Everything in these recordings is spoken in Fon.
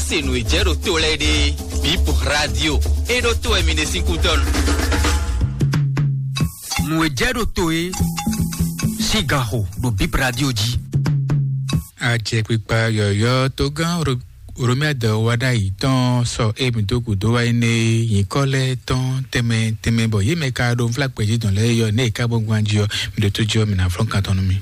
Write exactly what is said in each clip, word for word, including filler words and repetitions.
Se nǔ e jɛ ɖo to lɛ́ɛ ɖe, Bip Radio. E ɖo to wɛ mi ɖe sín kútɔ́nu. Nǔ e jɛ ɖo to e sín ganxo ɖo Bip Radio jí. Ajɛkpikpa yɔ̌yɔ́ togán Ro-, Romiade wa ɖ'ayǐ tɔn sɔ e mǐ dó gǔdo wá énɛ́ e nyǐkɔ lɛ́ɛ tɔn tɛnmɛ tɛnmɛ bɔ yě mɛ ka ɖo nflá gbɛ̌jidɔn lɛ́ɛ yɔ nɛ́ è ka gbɔn gbɔn jí ɔ́, mǐ ɖo tó jí ɔ́, mǐ ná flɔ́n kan tɔn nú mi.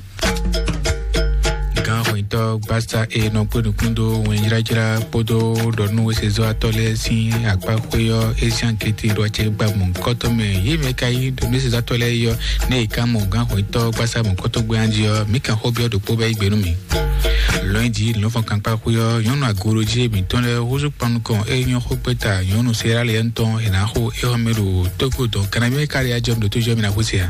Gǎn hwɛntɔ́ gbásá e nɔ kpé nukún dó wɛnjlájlá kpódó ɖɔnúwesezɔ́watɔ́ lɛ́ɛ sín akpá xwé ɔ́, é zán kété ɖo acɛ gba mɔ̌hunkɔtɔn mɛ. Yě mɛ ka yí ɖɔnúwesezɔ́watɔ́ lɛ́ɛ yɔ, nɛ́ è ka mɔ gǎn hwɛntɔ́ gbásá mɔ̌hunkɔtɔn gbé jí ɔ́, mǐ kan xó byɔ́ ɖokpó bɔ é yí gbe nú mǐ. Lɔ̌nyijǐ lɔ̌nfɔnkankpá xwé ɔ́, nyɔ̌nu agorojí mǐtɔn lɛ́ɛ húzú kpannukɔn e nyɔ́ xó kpé ta nyɔ̌nu Seráliɛ́nu tɔn è nǎ xo é xɔ mɛ ɖo Tógó dɔn kanabí mɛ káɖi ajɔ mì ɖo tó jɔ mì ná xwé se ǎ.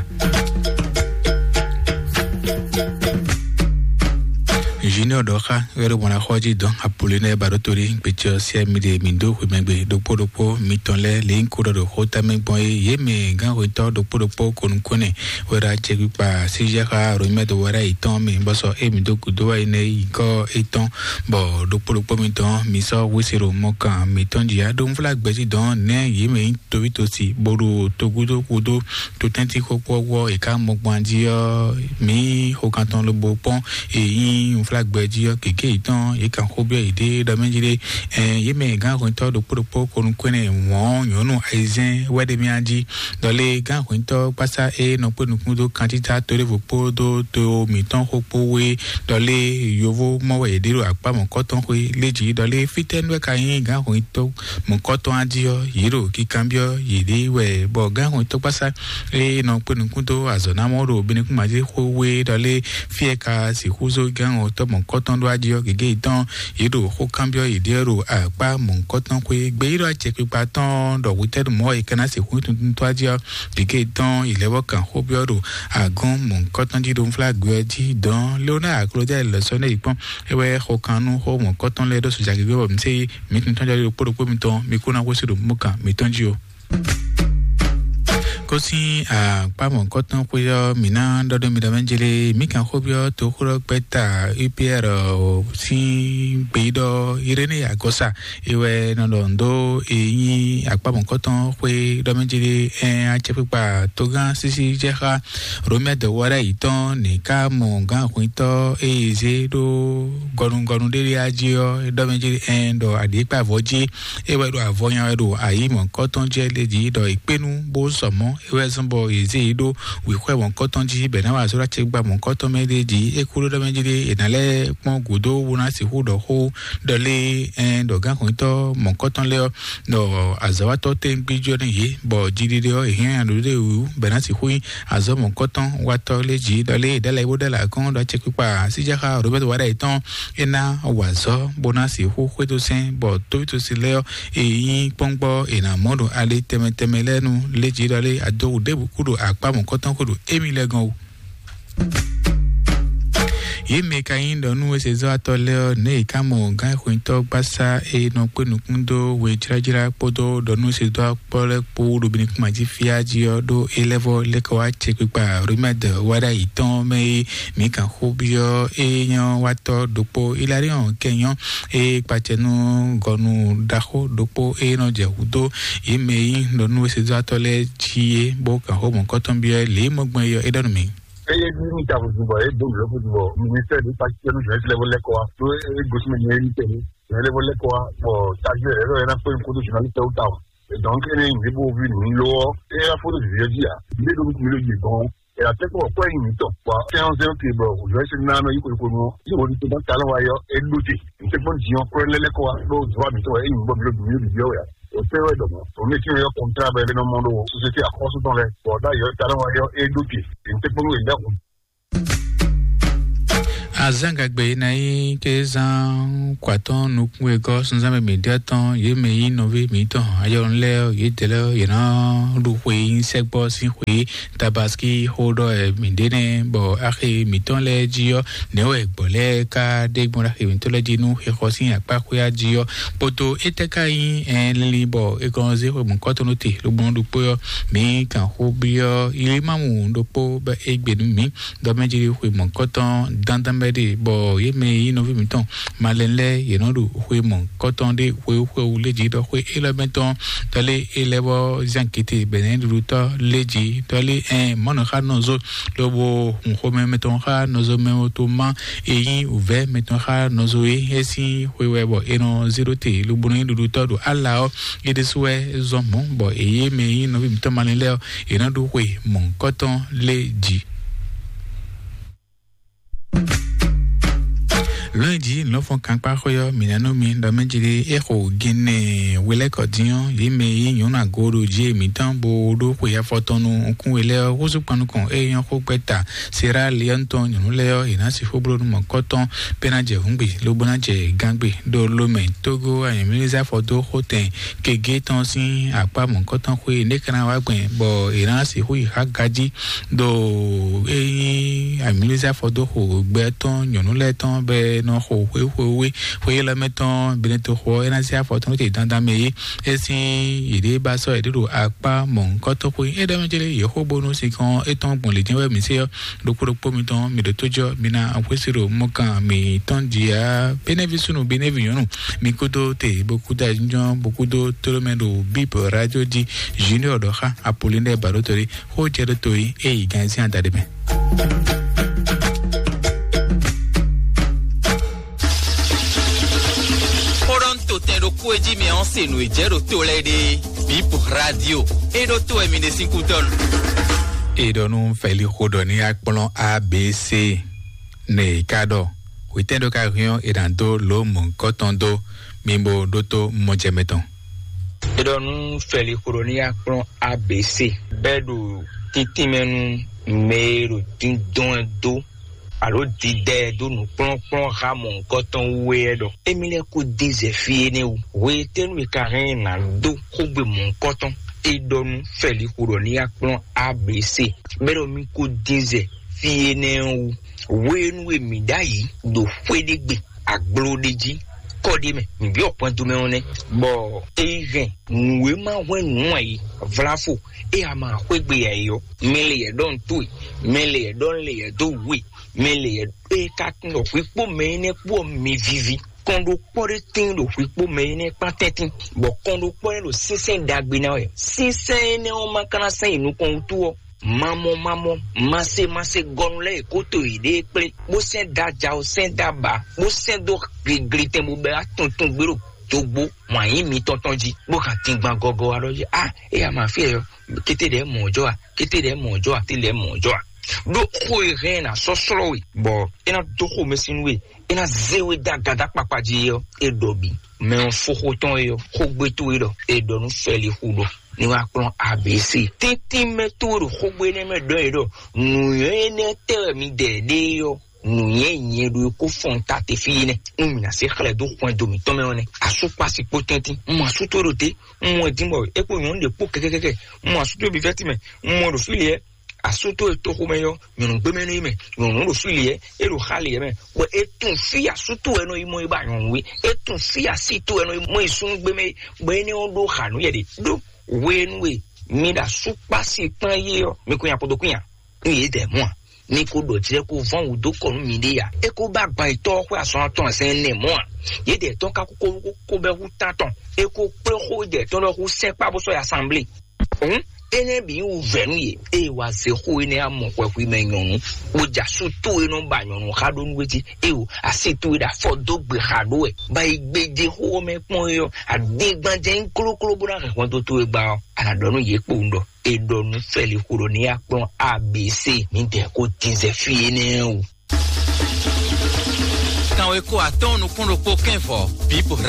Junior ɖɔ xá wɛ ɖo mɔna xɔ jí dɔn apolonɛ ba ɖo tori gbetsɔ sia mi ɖe mi dó xwe mɛgbe ɖokpó ɖokpó mitɔn lɛ lɛ ko ɖɔ ɖo xó tamɛ gbɔn é yé mɛ gán xwetɔ ɖokpó ɖokpó konukone wɛ ɖo acɛ kpikpa si jɛ xa romɛ do wɛ ɖo ayi tɔn mɛ bɔsɔ é mi dó kudo wɛ ne yi kɔ étɔn bɔ ɖokpó ɖokpó mitɔn mi sɔ wese ɖo mɔ kan mitɔn jí aɖo nfla gbɛsi dɔn nɛ yé mɛ yi tovi tosi bó ɖo togudo kudo to tɛnti xɔkpɔwɔ yi ka mɔ gbɔn jí ɔ mi xɔ kan tɔn lobo kpɔn èyí nfla gbɛ jí ɔ kéké yi tɔn yi kan xó bɛ yi ɖe ɖɔ mɛ jí ɖe ɛ yé mɛ gán hwɛntɔ ɖokpó ɖokpó konu kwɛnɛ wɔn nyɔnu ayizɛn wɛ ɖe mia jí dɔlé gán hwɛntɔ kpasa e nɔ kpé nukún dó kantita to ɖevo kpódó to mitɔn xó kpó wé dɔlé yovo mɔ wɛ yě ɖe ɖo akpá mɔ̌kɔtɔn xwé lé jí dɔlé fítɛ́ nú wɛ ka nyí gán hwɛntɔ mɔ̌kɔtɔn á jí ɔ́ yě ɖo kíkanbyɔ́ yě ɖe wɛ bɔ gán hwɛntɔ kpasa e nɔ kpé nukún dó azɔ̌ ná mɔ ɖo binukún mají xó wé dɔlé fí e ka sixú zó gán hwɛntɔ mɔ̌kɔtɔn ɖó á jí ɔ́ gěgé yi tɔn yě ɖo xó kanbyɔ́ yě ɖe ɖo akpá mɔ̌kɔtɔn xwé gbeyíɖɔ acɛkpikpa tɔn ɖɔ hwetɛ́nu mɔ̌ è ka ná sixú tuntun tó á jí ɔ́ gěgé yi tɔn yě lɛ́ vɔ kan xó byɔ́ ɖo agɔn mɔ̌kɔtɔn jí ɖo nflá gbé ɔ́ jí dɔn léonáa aklodá lɛ́ sɔ́ nɛ́ yi kpɔ́n é wɛ xɔ kan nú xó mɔ̌kɔtɔn lɛ́ɛ ɖó soja gěgé bɔ mi sé mǐ tuntun jɔ ɖokpó ɖokpó mitɔn mi kó ná xwésí ɖo mɔ̌kan mitɔn jí o. Kó sín akpá mɔ̌kɔtɔn xwé ɔ́, mǐ ná ɖɔ ɖó mi ɖɔ mɛ jélé mǐ kan xó byɔ́ toxóɖɔgbɛ́ta U P R sín gbeyíɖɔ Iréné Agɔsa é wɛ nɔ ɖɔ ndo e nyí akpá mɔ̌kɔtɔn xwé ɖɔ mɛ jélé ɛ acɛkpikpa togán sísí jɛ xá Romɛ dɔwɔɖɛ yětɔn ní ká mɔ gǎn hwintɔ́ e yě zé ɖó gɔnugɔnu ɖé ɖé á jí ɔ́, é ɖɔ mɛ jí ɛn ɖɔ aɖǐkpavɔ jí é wɛ ɖo avɔ nya wɛ ɖo ayǐ mɔ̌kɔtɔn jɛ lě jí ɖɔ è kpé nu bó sɔ mɔ̌ é wɛ zɔ́n bɔ yě zé yě ɖó wǐxwɛ mɔ̌kɔtɔn jí bɛ ná wa azɔ̌ ɖo acɛkpikpa mɔ̌kɔtɔn mɛ ɖé jí é kú ɖó ɖɔ mɛ jí ɖé è nǎ lɛ́ kpɔ́n gǔdo bó ná sixú ɖɔ xó ɖɔ lé ɛn ɖɔ gǎn hwintɔ́ mɔ̌kɔtɔn lɛ́ɛ ɔ́ ɖɔ azɔ̌watɔ́ tɛ́ngbí jɔ nú yě bɔ jiɖiɖe ɔ́ è hɛn aɖǒ ɖé wǔ bɛ ná sixú nyí azɔ̌ mɔ̌kɔtɔn watɔ́ lé jí ɖɔ lé è ɖɛ́ lɛ́ bó ɖɛ́ lɛ́ akɔ́n ɖɔ acɛkpikpa síjáxa Robɛ́t Waɖa yětɔn é ná wa azɔ̌ bó ná sixú xwedó sɛ́n bɔ tóvítósi lɛ́ɛ ɔ́ è nyí kpɔ́ngbɔ́ è nǎ mɔ ɖo ali tɛnmɛ tɛnmɛ lɛ́ɛ nu lé jí ɖɔ lé adó wǔ ɖěbǔ kú ɖo akpá mɔ̌kɔtɔn xwé ɖo émí lɛ́ɛ gɔ́n wú. Yě mɛ ka nyí ɖɔ nú wezezɔ́watɔ́ lɛ́ɛ ɔ́, nɛ̌ è ká mɔ gǎn xwetɔ́ gbásá e nɔ kpé nukún dó wejlájlá kpódó ɖɔ nú wezezɔ́watɔ́ lɛ́ɛ kpó ɖo binukúnma jí fíá jí ɔ́ ɖó é lɛ́ vɔ́ lɛ́ kɔ wá cɛkpikpa Romɛ́d Waɖa yětɔn mɛ e mǐ kan xó byɔ́ é nyɔ́ watɔ́ ɖokpó Iláliɔn kɛ nyɔ́ é kpacɛ nú gɔnu ɖaxó ɖokpó é nɔ jɛ hǔdó yě mɛ e nyí ɖɔ nú wezezɔ́watɔ́ lɛ́ɛ jí é bó kan xó mɔ̌kɔtɔn byɔ́ lě e mɔ gbɔn é ɔ́, é ɖɔ nú mǐ. Eye bí mi ta vodun bɔ e do mi lɔ vodun bɔ ministère de pasitɛ nu jɔn ti lɛ vo lɛ kɔ wa to e gosi mi ni e mi tɛ ni jɔn lɛ vo lɛ kɔ wa bɔ taji yɛ yɛ na kpɛ nkodo jɔn ti tɛ o ta o. Donc ene mi bo vi nu lo e ya foto vi di a mi do mi lo yi bon e la tɛ ko kɔ yi mi tɔ bɔ kɛ on zero ke bɔ o jɔn se na no yi ko ko no yi wo ni to ta lo wa yɔ e do te n tɛ ko di on ko lɛ lɛ kɔ wa do zwa mi tɔ e mi bo mi lo mi lo bi o ya. O tɛ wɛ dɔmɔ o mi ti yɔ kɔntra bɛ nɔ mɔ do société akɔsu tɔn lɛ bɔ da yɔ ta lo wa yɔ e do te n tɛ ko lo e da ko. Azán gagbe ná nyí kézán kwatɔ́n nukún e gɔ́ sunzán mɛ mǐ ɖe tɔn yě mɛ nyí nɔví mǐtɔn ayɔlɔn lɛ́ɛ yě dɛ lɛ́ɛ yě ná ɖu xwe nyí sɛgbɔ sín xwe tabaski xó ɖɔ ɛ mǐ ɖe nɛ bɔ axi mǐtɔn lɛ́ɛ jí ɔ́ nɛ̌ wɛ gbɔ̌ lɛ́ɛ ka ɖe gbɔn ɖo axi mǐtɔn lɛ́ɛ jí nú xixɔ sín akpá xwé á jí ɔ́ kpódó étɛ́ ka nyí ɛ lili bɔ é gɔn zé xwe mɔ̌kɔtɔn nú te lógbɔn ɖokpó ɔ́ mǐ kan xó byɔ́ ylimámu ɖokpó bɔ é gbe nú mǐ dɔmɛjiri xwe mɔ̌kɔtɔn dandan bɛ ɖe, bɔ yě mɛ e nyí nɔví mǐtɔn malɛn lɛ́ɛ, yě nɔ ɖo xwe mɔ̌hunkɔtɔn ɖé xwewú xwewú lé jí, ɖɔ xwe élɔ́ mɛ tɔn tɔ́ lé é lɛ́ vɔ zán kété bɛnɛ́ɖuɖutɔ́ lé jí, tɔ́ lé ɛn mɔ̌nɔxánɔzo, lobo hun xomɛ mɛtɔn xá nɔzo mɛ to má, e nyí wǔvɛ́ mɛtɔn xá nɔzo é, é sín xwe wɛ bɔ è nɔ zé ɖó te, lobo nɔ nyí ɖuɖutɔ́ ɖo ala ɔ́, é ɖésú wɛ zɔn mɔ̌, bɔ è yě mɛ e nyí nɔví mǐtɔn malɛn lɛ́ɛ ɔ́, è nɔ ɖó xwe mɔ̌hunkɔtɔn lé jí. Lɔ̌nyijǐ lɔ̌nfɔn kankpáxwé ɔ́, mǐ ná nɔ mi ɖɔ mɛ jí ɖé é xo Gine hwelɛ́kɔ dín ɔ́, yě mɛ e nyí nyɔ̌nu agooɖo jí mǐtɔn bó ɖó xwe afɔtɔn nú nukún we lɛ́ɛ ɔ́, húzú kpan nukɔn é nyɔ́ xó gbɛ́ta Sierra Leone tɔn nyɔ̌nu lɛ́ɛ ɔ́, yě ná sixú bló nú mɔ̌kɔ́tɔn bó ná jɛ hǔngbe, lobo ná jɛ gángbe ɖo Lomɛ, Togo, anyɛ̌mlízá fɔdó xótɛn kegé tɔn sín akpá mɔ̌kɔ́tɔn xwé, né ka ná wá gbɛn bɔ è nǎ sixú yi xá gají ɖo é nyí amǐlízá fɔdóxo gbɛ tɔn nyɔ̌nu lɛ́ɛ tɔn bɛ nɔ xo xwé xwé xwé élɔ́ mɛ tɔn Benetoxo ɔ́, é ná zé afɔ tɔn nú te dandan mɛ é. É sín yěɖée ba sɔ́ yěɖée ɖo akpá mɔ̌hunkɔtɔn xwé é ɖɔ mɛ jɛ́lɛ yě xó bónú sinkɔn étɔn gbɔn lě jɛ́n wɛ mǐ se ɔ́, ɖokpó ɖokpó mitɔn mi ɖo tó jɔ mi ná xwésí ɖo mɔkan mitɔn jí á. Benevi súnnu, Benevi nyɔ̌nu, mi kúdó te bó kúdó ayǐjínjɔ́n bó kúdó tlóló mɛ ɖo Bíbl rádio jí. Junior ɖɔ xá Apolinɛ́ɛ Baɖótɔ́ ɖé xó jɛ ɖó to yi é yi gan sín adaɖé mɛ. Xó ɖɔ ń to tɛn ɖokpó e jí mi ɔ́ se nǔ e jɛ ɖo to lɛ́ɛ ɖe. Bíbl rádio é ɖó to wɛ mi ɖe sín kútɔ́nu. È ɖɔ nú Fɛli xó ɖɔ ní akplɔ́n A B C. Nɛ è ka ɖɔ hwetɛ́n ɖó ka hɛn ɔ́, è nǎ dó lǒ mɔ̌hunkɔtɔn dó mi bó ɖótó mɔjɛmɛ tɔn. È ɖɔ nú Fɛli xó ɖɔ ní akplɔ́n A B C bɛ́ ɖo títínmɛ nú mɛ e ɖo díndɔn ɛ dó alo didɛ ɛ dó nǔkplɔ́nkplɔ́n ha mɔ̌hunkɔtɔn wú é ɖɔ émí lɛ́ɛ kó dín zɛ fí énɛ́ wú. Hwetɛ́nu è ka hɛn ɛ nǎ dó xógbe mɔ̌hunkɔtɔn? È ɖɔ nú Fɛli xó ɖɔ ní akplɔ́n A B C bɛ́ ɖɔ mí kó dín zɛ fí énɛ́ ɔ́ wú. Hwenu e mǐ ɖ'ayǐ ɖo xwé ɖé gbe, aglo ɖé jí, kɔ ɖé mɛ, mǐ byɔ́ hwɛndo mɛ ɔ́ nɛ́, bɔ é yi hɛn nǔ e ma hwɛ́n nǔ ǎ é, vláfo, é a ma xwé gbe ǎ é ɔ́, mɛ lě yɛ ɖɔ un towe, mɛ lě yɛ ɖɔ un lě yɛ dó wǔ we, mɛ lě yɛ é ka tunwun ɖɔ hwǐkpó mɛ énɛ́ kpó ɔ́ mi víví. Kɔn ɖokpɔ́ ɖé tíin ɖo hwǐkpó mɛ énɛ́ kpán tɛ́ntin, bɔ kɔn ɖokpɔ́ énɛ́ ɖo sínsɛ́n ɖagbe ná wɛ. Sínsɛ́n énɛ́ ɔ́ ma ka ná sɛ́n yi nukɔn wútu ɔ́, mamɔ mamɔ, mase mase gɔnu lɛ́ɛ e kó to yěɖée kplé, bó sɛ́n dó aja ɔ́, sɛ́n dó aba, bó sɛ́n dó gligli tɛn bó bɛ́ wá tuntun gbé ɖo dogbo, wǎn yí mitɔn tɔn jí, bó kan dingban gɔgɔ wá ɖɔ jí, a, é ya ma fí ɛ ɔ́, kété ɖɛ̌ mɔ̌ jɔ a, kété ɖɛ̌ mɔ̌ jɔ a, té ɖɛ̌ mɔ̌ jɔ a. Ɖó xó e hɛn ná sɔ́ slɔ́ we, bɔ é ná dó xomɛ sín nú we, é ná zé we dó agadá kpakpa jí ɔ́, é ɖɔ bǐ. Mɛ ɔ́ fó xó tɔn é ɔ́, xógbé towe ɖɔ è ɖɔ nú Fɛli xu ɖɔ ní wá kplɔ́n A B C. Tɛ́ntin mɛ towe ɖo xógbé énɛ́ mɛ ɖɔ é ɖɔ nǔnywɛ́ énɛ́ tɛ́ wɛ mi ɖɛ ɖe é ɔ́, nǔnywɛ́ nyɛ ɖo é kó fɔ́n ta te fí é nɛ́. Nú mǐ ná se xlɛ́ dó hwɛndo mǐtɔn mɛ ɔ́ nɛ́. Asúkpasi kpó tɛ́ntin, un mɔ asú towe ɖo te, un mɔ ɛ dín bɔ é kpó nyɔ̌nu ɖě kpó kɛkɛkɛkɛ, un mɔ asú towe bǐ vɛ́ tínmɛ, un mɔ ɛ ɖo fí lě ɔ́, asú towe toxomɛ ɔ́, nyɔ̌nu gbémɛ nú mɛ, nyɔ̌nu ɖo fí lě ɔ́, é ɖo xá lě ɔ́ mɛ, bɔ é tunwun fí asú towe nɔ yi mɔ yi ba nyɔ̌nu é, é tunwun fí así towe nɔ yi mɔ yi súnnu gbémɛ é, bɔ énɛ́ ɔ́ ɖó xa nú yɛ ɖe ɖó hwenu e mi ɖo asúkpasi kpán yé ɔ́, mi kún nya kpódó kún nya, nú yě dɛ mɔ̌ a? Mi ko ɖɔ jlɛ́ ko vɔ́n wǔ dó kɔ nú miɖée a? É ko ba gban yětɔn ɔ́ xwé azɔn atɔn sɛn nɛ mɔ̌ a? Yě dɛ tɔn ka kó kó kó bɛ́ hú tántɔn, é ko kplé xó dɛ tɔn ɖɔ hú sɛ́n kpá bó sɔ́ yi asanblée. Hǔn énɛ́ bǐ nyí wǔvɛ́ nú yě, ée wá zé xó énɛ́ amɔ xwɛxwi mɛ nyɔ̌nu, bó jɛ asú towe nɔ ba nyɔ̌nu xá ɖó nú wé jí, ée o así towe ɖo afɔ dó gbe xa ɖó wɛ, bɔ yi gbéjé xó ɔ́ mɛ kpɔ́n é ɔ́, adingban jɛ nyí klókló bó ná hɛn hwɛndo towe gba ɔ́, a nǎ ɖɔ nú yě kpowun ɖɔ è ɖɔ nú Fɛli xó ɖɔ ní yi akplɔ́n A B C ní dɛ kó dín zɛ fí énɛ́ wú. Kanweko atɔ́ɔ́n nukún ɖokpó kɛ́n vɔ̌, Bíbl